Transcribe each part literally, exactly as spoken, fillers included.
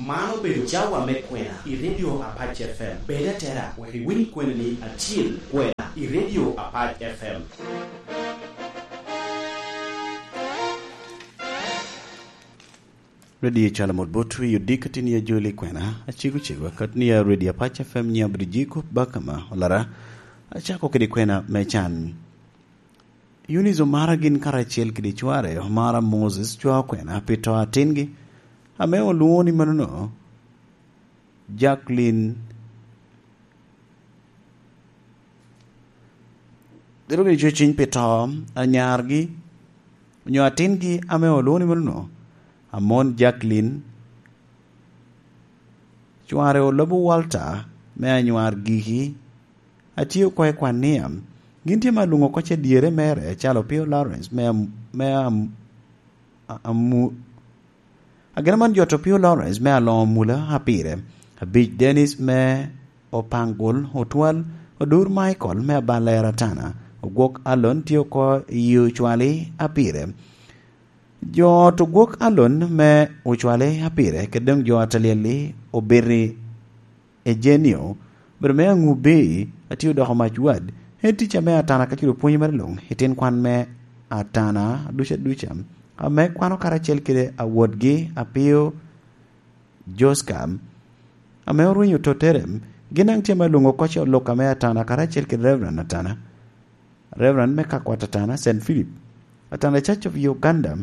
Man obedo cawa me kwena i Radio Apac F M. Bed atera wek iwiny kweni ni acil kwena i Radio Apac F M. Radio Calo Mot Bot, wi odiko tin ya joli kwena, acego cego, kat ni ya Radio Apac F M nya bidi jiko baka ma olara. Acako kede kwena me can. Eunice Omara gin karacel kede cware, Omara Moses, cwa okwena pi to atingi, ame olwoŋo ni manono, Jacqueline. Dero gini cweciny pi to anyargi, onyo atingi ame olwoŋo ni manono, Amon Jacqueline, cware Olobo Walter, me anywar giki, atye oko i kwan ni, am, gin tye ma lwoŋo kocce dyere mere, calo Pio Lawrence, me am-, me am-, a-, amu-, agina man jot Opio Lawrence me aloŋo mula apire, abic Dennis me Opangul Otwal, Odur Michael me Abalera Tana, Ogwok Alon tye oko i Ocwali apire. Jo ot Ogwok Alon me Ocwali apire, kede doŋ jo ot Alyel-li obiti Ejenio, obedo me Aŋubi, atye odoko mac wad, en ticca me Atana ka culo pwony mere luŋ, i tin kwan me Atana duca duca, ame kwano karacel kede awotgi Apio Joska, ame orwenyo tottere, gin daŋ tye ame olwoŋo kocce olok ame Atana karacel kede Reverend Atana, Reverend me Kakwat Atana, Saint Philip, Atana Church of Uganda.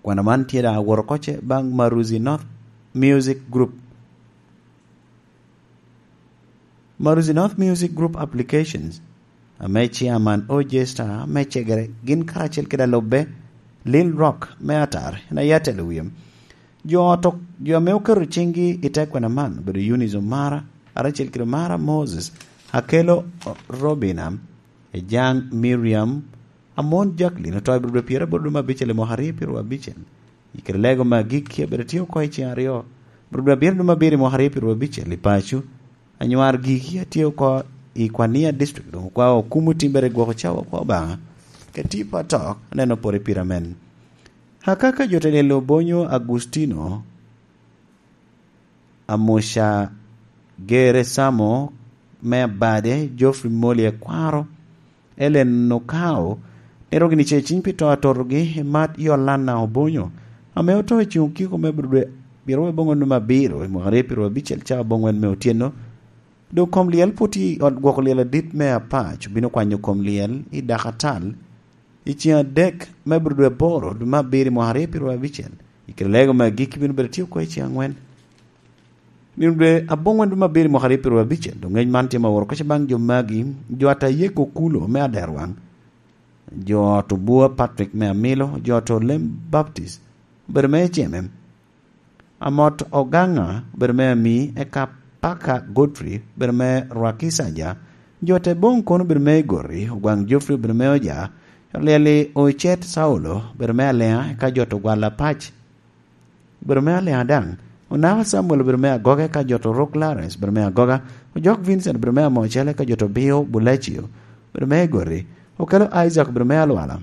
Kwano man tye daŋ aworo kocce baŋ Maruzi North Music Group. Maruzi North Music Group Applications, ame Chairman O J Star me Cegere, gin karacel kede alubbe, Lil Rock me Atar, en aye atelo wie. Jo ot ok-, jo ame oketo ciŋgi i te kwena man obedo Eunice Omara, karacel kede Omara Moses, Akelo Robina, Ejang Miriam, Amon Jacqueline, oto i Bur dwe pyeraboro dwe me abicel i mwaka aryo pyeraryo abicel. I kare lego me agikki abedo tye oko i ceng aryo, Bur dwe abiro dwe me abiro i mwaka aryo pyeraryo abicel i paco. Anywar giki atye oko i Kwania District, doŋ okwao okumo timbere gwoko cawa kwa Obaŋa. Ka tipo atok, aneno pore pira men. Akaka jo te lelo Bonyo Agustino, Amuca Gere Samo me Abade, Geoffrey Moli Akwaro, Ellen Okao, nero gini ce ciny pi to atotogi, i mat Yolana Obonyo, ame oto i cuŋ kiko me Budwe pyeraryo aboŋwen me abiro, i mwaka aryo pyeraryo abicel caa aboŋwen me otyeno. Doŋ kom lyel pwod tye i ot gwoko lyel adit me Apac, obino kwanyo kom lyel i Dakatal, i ceng adek me Budwe aboro, dwe me abiro, i mwaka aryo pyeraryo abicel. I kare lego me agikki bino bedo tye oko i ceng angwen. Nino dwe aboŋwen dwe me abiro i mwaka aryo pyeraryo abicel, doŋ ngec man tye ma oro kece baŋ jo magi, jo ata Yeko Kulo me Aderwaŋ, jo ot Obua Patrick me Amilo, jo ot Olem Baptist, obedo me Eceme, Amot Ogaŋa, obedo me Ami, eka Paka Godfrey, obedo me Rwakicaja, jo ot Eboŋ kono obedo me Igori, Ogwaŋ Geoffrey obedo me Oja, Olyeli Ocet Saulo, obedo me Aliŋa, eka jo ot Ogwal Apac, obedo me Aliŋa daŋ. Onaka Samuel obedo me Agoga, eka jo ot Orok Lawrence obedo me Agoga. Ojok Vincent obedo me Amocel, eka jo ot Obio Bulacio obedo me Egori. Okelo Isaac obedo me Alwala,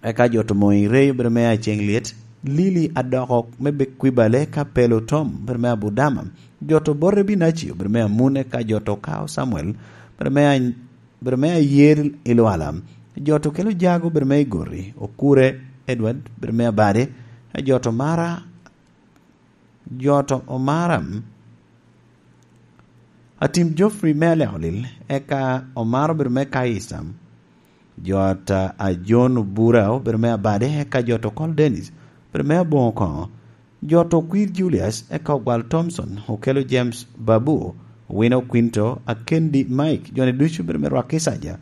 eka jo ot Moŋ Irey obedo me Aceŋ Lyet. Lili Adoko me Bekwibale, eka Pelo Tom obedo me Abudama. Jo ot Obote Binaci obedo me Amun, eka jo ot Okao Samuel obedo me Any-, obedo me Ayer i Lwala. Jo ot Okelo Jago obedo me Igori, Okure Edward obedo me Abade, jo ot Omara, jo ot Omara, Atim Geoffrey me Aleko Lil, eka Omara obedo me Kaisa, jo ot Ajon Obura obedo me Abade, eka jo ot Okol Dennis obedo me Aboŋo Koŋo, jo ot Okwir Julius, eka Ogwal Thompson, Okelo James Babu, Owino Quinto, Akendi Mike, jo-ni ducu obedo me Rwakicaja.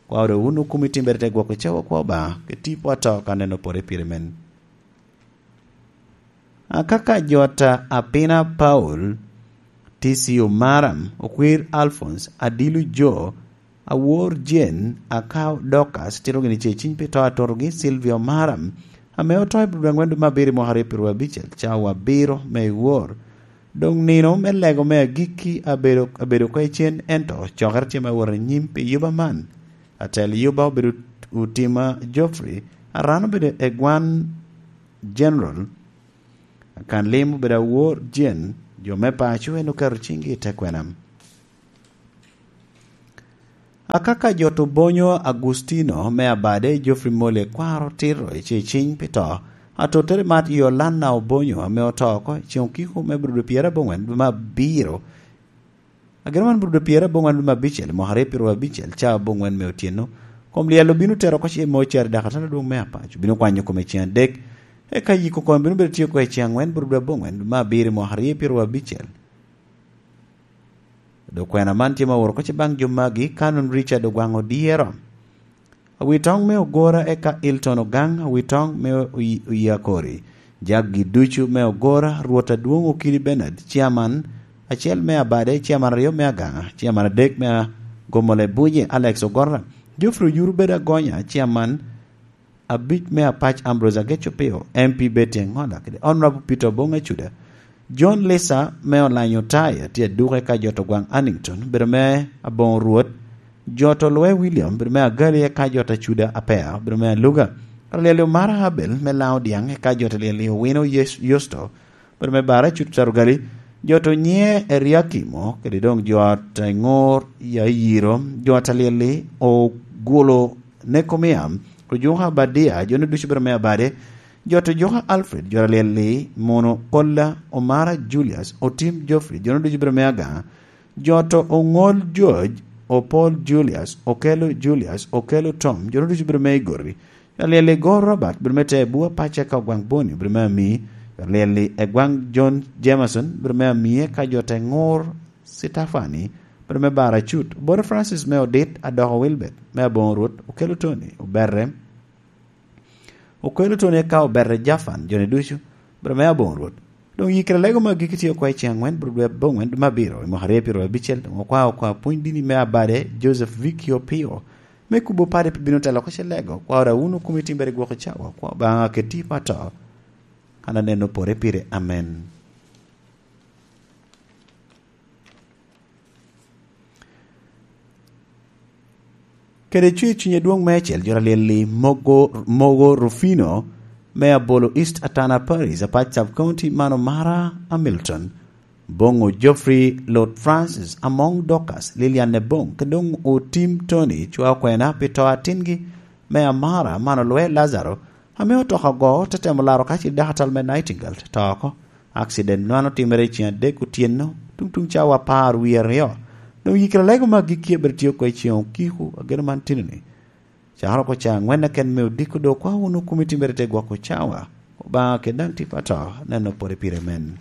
Kwa oro wun okumi timbere te gwoko cawa kwa Obaŋa, ke tipo ato ka neno pore pire men. Akaka jo ot Apina Paul, T C Omara, Okwir Alphonse, Adilu Jo, Awor Jane, Akao Dorcas, tito gini ce ciny pi to atotogi, Sylvia Omara, ame oto i Budwe angwen dwe me abiro i mwaka aryo pyeraryo abicel, cawa abiro me i wor. Doŋ nino me lego me agikki abedo, abedo oko i cen, ento cokere tye me wot anyim pi yuba man. Atel yuba obedo Otima Geoffrey, Aran obedo Egwan General, Kan lim obedo awor Jen, jo me paco en oketo ciŋgi i te kwena. Akaka jot obonyo Agustino me Abade, Geoffrey Mole kwaro tito i ce ciŋ pi to. Atottere mat Yolanda Obonyo ame oto oko i ceŋ okiko me brudo pyerabongwen dwe me abiro. Agero man brudo pyerabongwen dwe me abicel, mwaka aryo pyeraryo abicel, ca abongwen me otyeno. Kom lyel obino tero oko ce mo cari daka tala dwong me apac. Obino kwanyo kome ceŋ adek. Eka yiko kome bino bedo tye oko i ceŋ angwen brudo abongwen dwe me abiro mwaka aryo pyeraryo abicel. Dok kwena man tye ma oworo oko ce baŋ jo magi, Canon Richard Ogwaŋ Odyero. Awitoŋ me Ogora eka Hilton Ogaŋ, Awitoŋ me Oyi-, Oyakori. Jaggi ducu me Ogora, Rwot Adwoŋ Okidi Bernard, Chairman acel me Abade, Chairman aryo me Agaŋa, Chairman adek me Agomole Buje, Alex Ogora, Geoffrey Oyuru Bedo Agonya, Chairman abic me Apac Ambrose Ageco Pio, M P Betty Engola, kede Honorable Peter Obong Acuda. John Lisa me Olanyo Taya tye aduke ka jot Ogwaŋ Annington, bedo me Aboŋo Rwot, jot Olwe William, bedo me Agali eka jot Acuda Apea, bedo me Aluga. Alyel Omara Abel me Laŋo Dyaŋ eka jot Alyel Owino Yes-, Yusto, bedo me Bara Cut Tarugali, jot Onyiŋe Eriakimo, kede doŋ jot Eŋor Yairo, jot Alyel Ogulo Nekomia, Ojuka Abadia, jo-nu ducu bedo me Abade, jot Ojuka Alfred, jot Alyel-li, Mono Kolla, Omara Julius, Otim Geoffrey, jo-nu ducu bedo me Agaŋa, jot Oŋol George, Opol Julius, Okelo Julius, Okelo Tom, jo-nu ducu bedo me Igori, jot Alyel-li Gor Robert, bedo me Tebua Paca ka Ogwaŋ Boni, bedo me Ami, jot Alyel-li Egwaŋ John Jameson, bedo me Ami, eka jot Eŋor Sitafani, bedo me Bara Cut, Obote Francis me Odit, Adoko Wilbert, me Aboŋo Rwot, Okelo Tony, Obere, Okelo Tony eka Obere Jafan, jo-ni ducu, bedo me Aboŋo Rwot. Doŋ yikere lego me agikki tye oko i ceŋ angwen, bedo dwe aboŋwen, dwe me abiro, i mwaka aryo pyeraryo abicel, doŋ okwao, okwao pwony dini me Abade, Joseph Vicky Opio, me kubo pade pi bino telo oko ce lego, okwao da wun okumi timbere gwok i cawa, okwao Obaŋa keti i pato, kan aneno pore pire. Amen. Kede cwer cuny adwoŋ meicel, jot Alyel-li Mogo, Mogo Rufino, me Abolo East Atana Parish, Apac Sub County, man Omara Hamilton, Boŋo Geoffrey, Lot Francis, Amoŋ Dorcas, Lilian Eboŋ, kede doŋ Otim Tony, cwa okwena pi to atingi me Amara, man Olwe Lazaro, ame otoka ogo, te temo laro ka ce dakatal me Nightingale, te to oko. Akciden man otimere i ceŋ adek otyeno, tuŋ tuŋ cawa apar wie aryo. Doŋ yikere lego me agikki abedo tye oko i ceŋ okiko, ageno man tino-ni. Cakere oko ca angwen keken me odiko doŋ okwao wunu kumi timmere te gwoko cawa. Obaŋa kede daŋ tipo ato, neno pwode pire men.